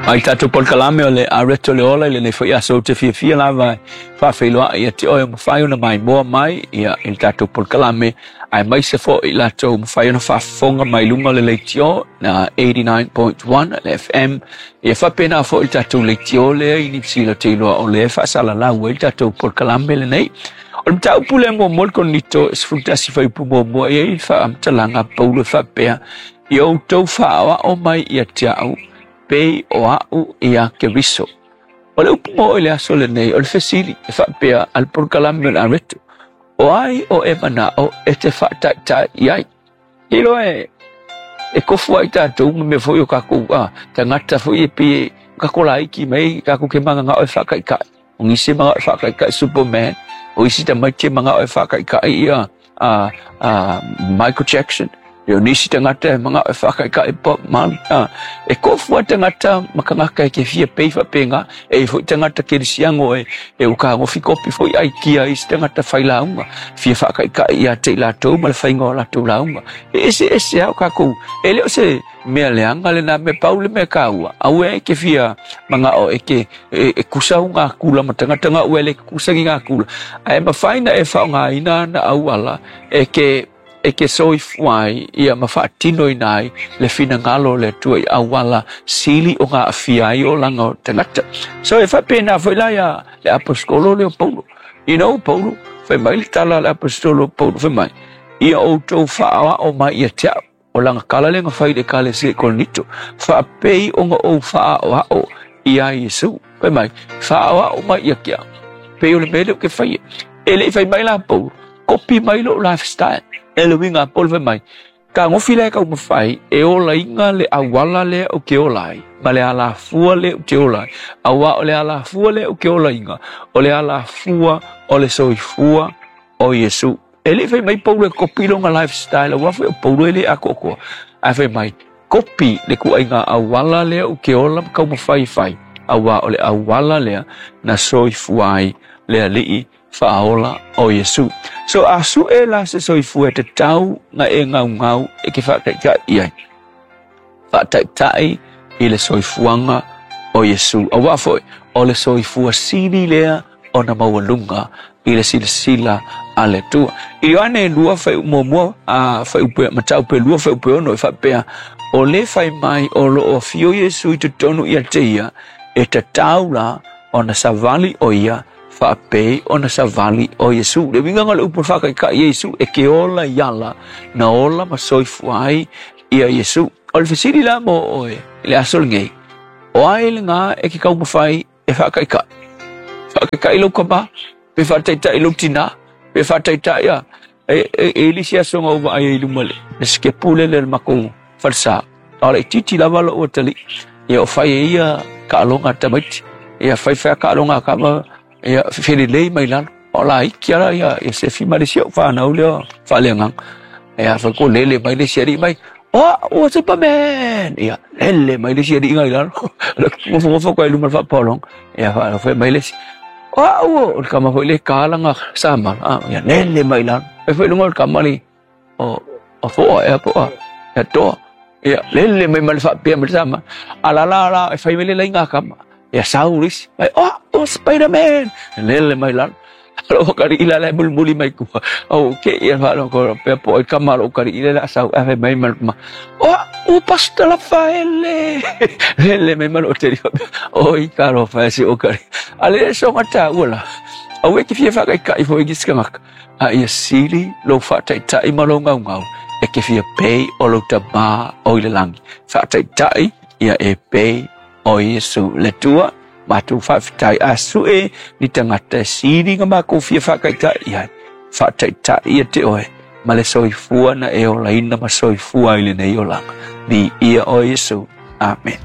Mai tatou polokalame o le Areto le Ola i lenei foi aso ou te fiafia lava e faafeiloai ia te oe o mafai ona maimoa mai ia i le tatou polokalame aemaise foi i latou o mafai ona faafofoga mai luga o le leitio na 89.1 le FM ia faapena foi le tatou leitio lea i Niu Sila ou te iloa o lea e faasalalau ai le tatou polokalame lenei. O le mataupu lea muamua le Korinito 11 fuaiupu muamua e i ai le faamatalaga a Paulo e faapea, Ia outou faaoao mai ia te au, pei o a'u ia Keriso. O le upu mo i le aso lenei, o le fesili e faapea a le polokalame o le Areto, o ai o e mana'o e te faataitai i ai? Iloa e e kofu ai tatou ma mea foi o kakou a tagata foi e pei e kako laiki mai kakou ke manganga'o e faakaikai. O nisi e manga'o e faakaikai Superman, o isi tamaiti e manga'o e faakaikai ia a a Michael Jackson, ia o nisi tagata e manga'o e faakaikai Bob Marley. A, e kofu a tagata ma kangaka e ke fia pei faapena, e i foi tagata kerisiano e e ua kagofi kopi foi aikia isi tagata fai lauga, fia faakaikai ia te i latou ma le faiga o latou lauga. E eseese a o kakou, e le o se mea leaga lena mea, pau le mea taua, aua e ke fia manga'o e ke e, e kusa u ngā kula ma tagata ngā ua e le kusa ki ngā kula. Ae mafai na e whaongaina ana auala e ke e ke soifua ai ia ma faatinoina ai le finagalo o le Atua i auala sili o ngā awhia ai olaga o tagata. So e faapena foi la ia le aposetolo lea o Paulo. You know Paulo, fai mai le tala a le aposetolo o Paulo, fai mai, ia outou faaoao mai ia te au. O lana tala lea na fai i le Ekalesia i Korinito, faapei ona ou faaʻoaʻo iā Iesu. Fai mai, faaʻoaʻo mai ia te au, pei o le mea lea ou te faia. E le i fai mai la Paulo, kopi mai lou lifestyle. E le uiga a Paulo fai mai, Kagofi la e taumafai e olaina le auala lea ou te ola ai, ma le alafua lea ou te ola ai, auā o le alafua lea ou te olaina, o le alafua o le soifua o Iesu. E le i fai mai Paulo e kopi lona lifestyle, aua foi o Paulo e le atoatoa. Ae fai mai, kopi le ituaiga auala lea ou te ola ma taumafai e fai, aua o le auala lea na soifua ai le Alii faaola o Iesu. So a sue la se soifua e tatau na e gaugau e ke faataitai i ai. Faataitai i le soifuaga o Iesu. Aua foi, o le soifua sili lea ona maualuga i le silasila a le Atua. I Ioane 2 fuaiupu muamua, a fuaiupu mataupu e 2 fuaiupu e 6 e faapea, o le fai mai o lo o afio Iesu i totonu ia te ia, e tatau la ona savali o ia faapei ona savali o Iesu. Le uiga o le upu faakaikai ia Iesu, e ke ola i ala, na ola ma soifua ai ia Iesu. O le fesili la mo oe i le aso lenei, o ai lena e ke taumafai e faakaikai? Faakaikai lou tama, pe faataitai lou tina, pe faataitai a e, e, e lisi aso na ou vaai ai i luma le, le sikepu lele le makou falesa. A o le itiiti lava lou atalii, ia o fai e ia taaloga a tamaiti. Ia fai fai a taaloga a tama, ia felelei mai lalo. O la iki ala ia, ia Sefi ma le isi au whanau lea faaleagaga. Ia fai ko lele mai le isi alii mai, oh, ua Superman! Ia, lele mai le isi alii ngai lalo. Ngofo ngofo koe luma le faapolonga. Ia, fai mai le isi, oh, ua, o le kama foi le kalanga samala. Ah, ia, lele mai lalo. Fai foi lunga o le kama li, o, o foa ea po a, ia toa. Ia, lele mai ma le faapea mai le sama. A la la la, e fai mai le laiga kama. Ia sau le isi, mai, oh, oh, Spider-Man! Lele mai lalo. Alo kari ila le mulimuli mai kua. O ke ia whalo ko pea po ai kama lo kari ila la sau ave mai ma ma. Oh, o pasta la faele. Lele mai ma lo te O i ka ro fa se o kari. Ale so mata ula. Aue ki fia whakaikai fo i giskamaka. A ia sili lou faataitai ma lou gaugau, e ke fia pei o lou Tamā o i le lagi. Faataitai ia e pei o Iesu le Atua, matou faafetai a sue ni tagata e sili nga makou fia faataitai i ai. Faataitai ia te oe ma le soifua na e olaina ma soifua ai lenei olaga. Viia oe Iesu. Amen.